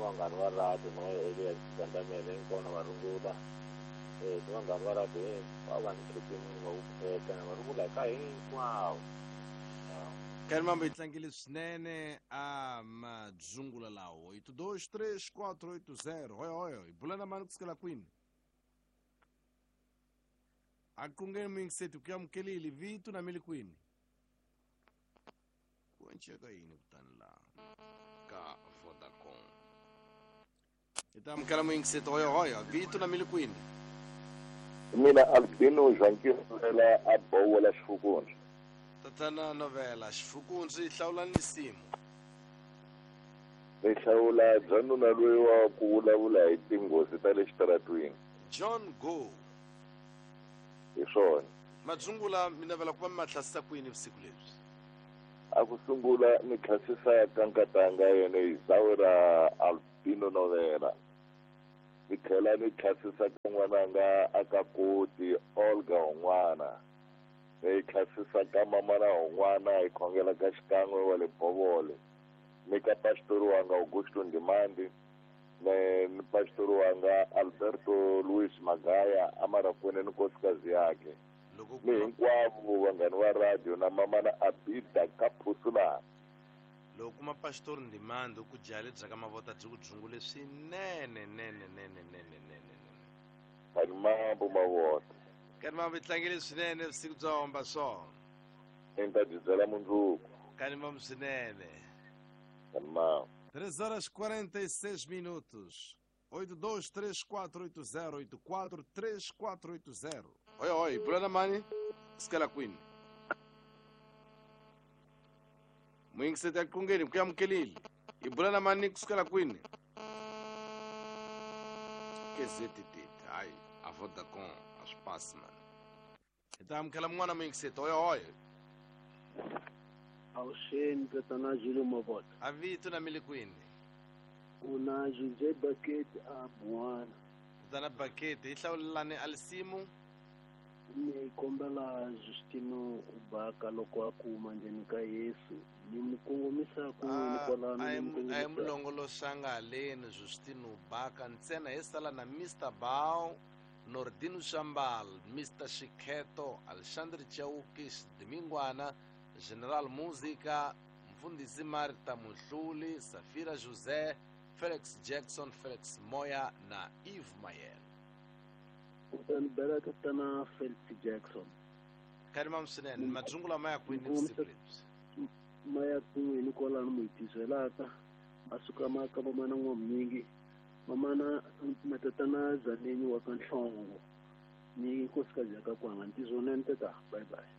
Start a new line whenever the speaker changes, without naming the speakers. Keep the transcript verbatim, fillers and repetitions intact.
vanghana va radio no Elias Gandamele hinkwavo na varungula. Eh ni vanghana va radio hinkwavo va ni tripini va vukheta na varungula ka hinkwavo.
Kani mambo yi tlangile swinene a madzungula lawo oito dois três quatro oito zero hoyo hoyo hi bula na mani kusukela kwini a kungeni muyingiseti ku amukelile vito na mili kwini ku enceka yini kutani laha ka Vodacom hi ta amukela muyingiseti hoyo hoyo vito na mili kwini
mina Albino Zwankirela a Bowola Xifukundzi.
Tatana Novela Xifukundzi hlawula nisimu.
Ni hlawula bya nuna loyi wa ku vulavula hi tinghozi ta le xitaratwini.
John Go.
Hi swona.
Madzungula mi navela ku va mi ma hlasisa kwini vusiku lebyi?
A ku sungula ni hlasisa ka nkatanga yena hi zawu ra Albino Novela. Ni tlhela ni hlasisa ka n'wananga a ka Koti Olga un'wana. Ni hlasisa ka mamana un'wana hi khongela ka xikan'we wa le Bovole. Ni ka pastori wanga Augusto Ndimandi, ni ni pastori wanga Alberto Luis Magaya amarakwene ni nkosikazi yakhe.
Loko
Ni hinkwavo vanghani va radio na mamana Abida ka Phusulana.
Loko kuma pastor Ndimandi ku jale bya ka mavota byi ku dzungule swinene nene nene nene nene nene.
Kani mambo mavota.
Kani mambo yi tlangile swinene vusiku bya homba swona.
Ni ta byi byela mundzuku.
Kani mambo swinene.
Kani mambo.
três horas quarenta e seis minutos. oito dois três quatro oito zero oito quatro três quatro oito zero. Oi, oi, Bruna Mani, Skela Queen. Muyingiseti ya kungeni ku amukelile. I Bruna Mani kusukela kwini. K Z T hayi a Vodacom a swi pasi mani. Hi ta amukela mun'wana muyingiseti oyo oyo.
Awuxeni tatana Julio Mavota.
A vito na mili kwini.
Una Jose Bucket a Buwana.
Tatana Bucket hi hlawulelani a lisimu.
Ni kombela Justino Ubaka loko a kuma ndzeni ka Yesu ni mu kongomisa kun'wini kwalano
a
ni
hi
mu
a hi
kongomisa
mulongoloxanga haleni Justino Ubaka ntsena hi sala na Mister Bao Nordino Shambal Mister Shikheto Alexandre Chauki Xidimingwana General Musica Mfundhisi Marta Muhluli Safira José Felix Jackson Felix Moya na Eve Mayel.
Kutani bela tatana Felix Jackson.
Kani swinene madzungula ma ya kwini vusiku lebyi?
Ma ya kun'wini kwalano mu hi tizelaka a suka ma ka mamana N'wamunyingi mamana matatana Zaneni wa ka Nhlongo ni nkosikazi ya ka Kwanga ntizo nene tata bye bye.